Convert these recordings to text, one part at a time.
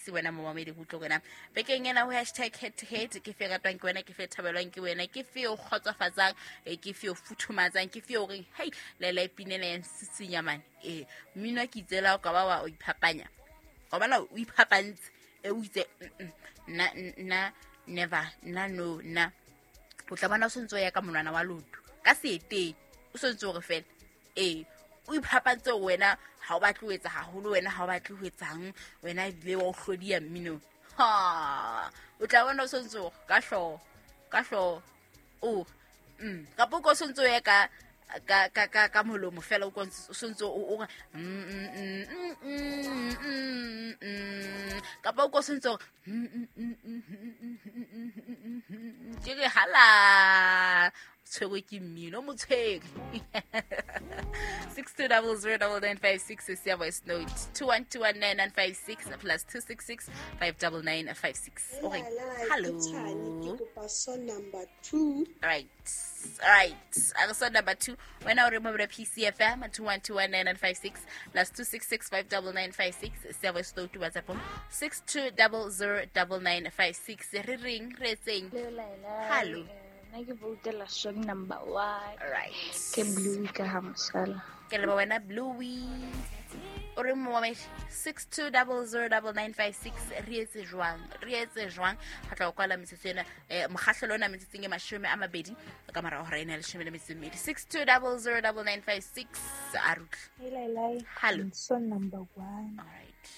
Se wena momamedi go utlwe wena bekeng ena ho hashtag head to head, ke fe ratwang ke wena, ke fe thabelwang ke wena, ke fe o kgotsofatsang, ke fe o futhumatsang, ke fe o reng hei lela e pinela ya nsitsinya mane. Ee, mmino ke itsela o ka ba wa o iphapanya, wa bona o iphapantse, e o itse nna nna never nna no nna. O tla bona o sentse o ya ka monwana wa loto ka seeteng, o sentse o re fela ee o iphapantse wena, ha o batle ho etsa haholo wena, ha o batle ho etsang wena, ebile wa o hlodiya mminong. Ha o tla bona o sentse o ka hlooho, ka hlooho o kapa o ko sentse o ye ka ka ka ka ka molomo fela, o o sentse o re kapa o ko sentse o ke re hala tshwerwe ke mmino o motshwere. 62009956 is your voice note, 21219956 plus 266 59956. Okay, hello. Ke kopa song number 2. Right, right, a re song number 2. Wena o re mo PCFM 21219956 plus 266 59956 se voice note, WhatsApp 62009956. Re reng, re etseng? Hello. Nna ke voutela song number 1. Right. Ke Blue ka ha mosala. Ke leba wena Bluey, o re momamedi 62009956. Re etse jwang, re etse jwang? Ga tla o kwala metsotso ena, um mokgahlelo ona metsotsong e 20 ka morago hora ena ya 12. 62009956. A rutle. Hello. Song number 1. Alright,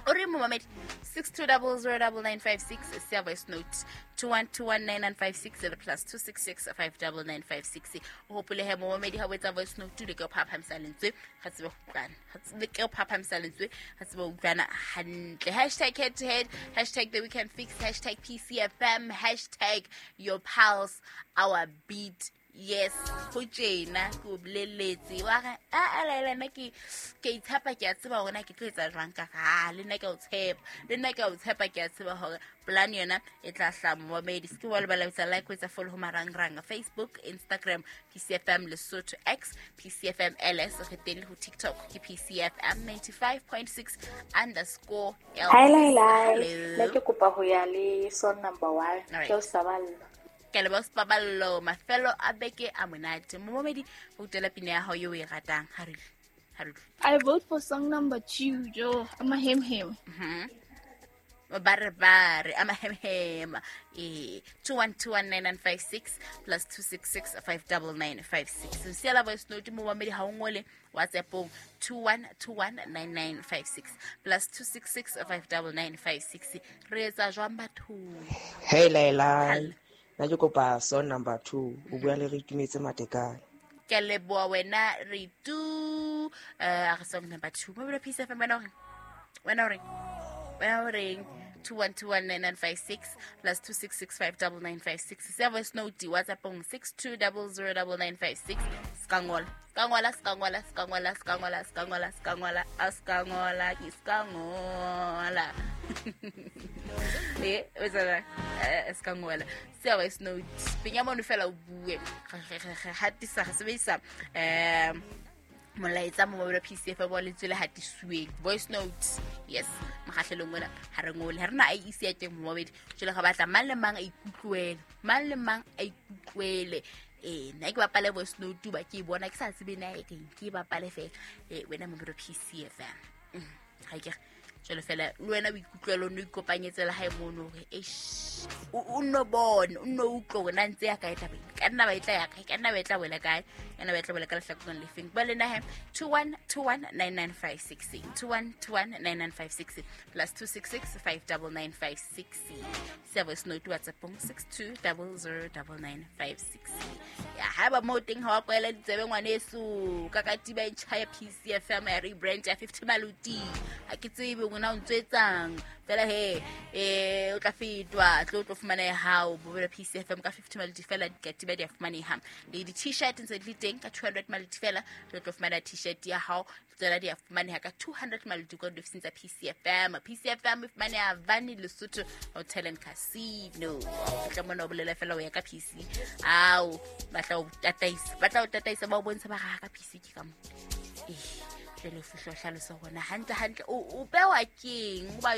o re momamedi 62009956 se voice note, 21219956 le plus 266 59956. O hopole he momamedi, ha o etsa voice note le ke o phaphamisa lentswe, ga tsebe go utlwana, le ke o phaphamisa lentswe, ga tsebe go utlwana hantle. Hashtag head to head, hashtag the weekend fix, hashtag PCFM, hashtag your pulse our beat. Yes, go tjena ke o boleletse wa re a laela nna ke ke itshepa, ke a tseba hore na ke tlo etsa jwang, ka ga le nna ke a o tshepa, le nna ke a o tshepa, ke a tseba hore plan yona e tla hlaha. Momamedi, se ke wa lebala ho etsa like, ho etsa follow ho marangrang, Facebook, Instagram PCFM Lesotho, X PCFM LS, re teng le ho TikTok ke PCFM 95.6_ L. Hi Laila, Hello. nna ke kopa ho ya le song number 1. Alright. Ke o saballa. Ke leboha Sepaballo, mafelo a beke a monate. Momamedi, o utela pina ya hao eo o e ratang. Ha re utlwe, ha re utlwe. I vote for song number 2, Jo. I'm a him him. Ba re ba re amahemhema. Ee, 21219956 plus 266 59956. Siela voice note momamedi, ha o ngole WhatsAppong 21219956 plus 266 59956. Re etsa jwang bathong? Hey Laila, Hello. nna ke kopa song number 2. O bua le re itumetse Matekane. Ke a leboha wena re tu, a re song number 2 mobile Peace FM. Wena o reng, wena o reng, wena o reng? 21219956 plus 266 59956. Se voice note WhatsAppong 62009956. Ska ngola, ska ngola, ska ngola, ska ngola, ska ngola, ska ngola, ska ngola, a ska ngola, ke ska ngola. E o tsena, ska ngola, se voice note penya mono fela o bue. Re hatisa, re sebedisa molaetsa mo mobile PCF bo lentswe le hatisuweng, voice note. Yes, mokgahlelong ona ha re ngole, ha re na IEC ya teng momamedi. Jwale ga batla mang le mang a ikutlwele, mang le mang a ikutlwele. Ee, nna ke bapale voice note ba ke e bona, ke sa tsebe na e reng, ke e bapale fela. Ee, wena mobile PCFM, ga ke re jwale fela le wena o ikutlwele, o nno ikopanyetse le hae mono hore eish, o nno bone, o nno utlwe hore na ntse ya kae tabeng, ka nna ba e tla ya kae, ka nna ba e tla wela kae, ka nna ba e tla wela ka lehlakoreng lefeng. Ba le nahe 21219956, 21219956 plus 266 59956. Se voice note WhatsAppong 62009956. Ya haeba moo teng ha wa kwela ditsebe ngwaneso, ka katiba e ntjha ya PCFM ya rebrand ya 50 Maluti, ha ke tsebe ngwana o ntso etsang fela he, o tla fetwa tlo tlo fumana ya hao bobela PCFM ka 50 Maluti fela. Dikatiba di a fumaneha le di-t-shirt ntse di le teng ka 200 Maluti fela. Tlo tlo fumana t-shirt ya hao, tsona di a fumaneha ka 200 Maluti kwa diofising tsa PCFM. PCFM e fumaneha Vani Lesotho Hotel and Casino. O tla mona o bolela fela o ya ka PC ao, ba tla o tataisa, ba tla o tataisa, ba o bontsha ba ga ka PC ke ka mo. Ee. Jale o fihle o hlalose gona hantle hantle o bewa keng o ba.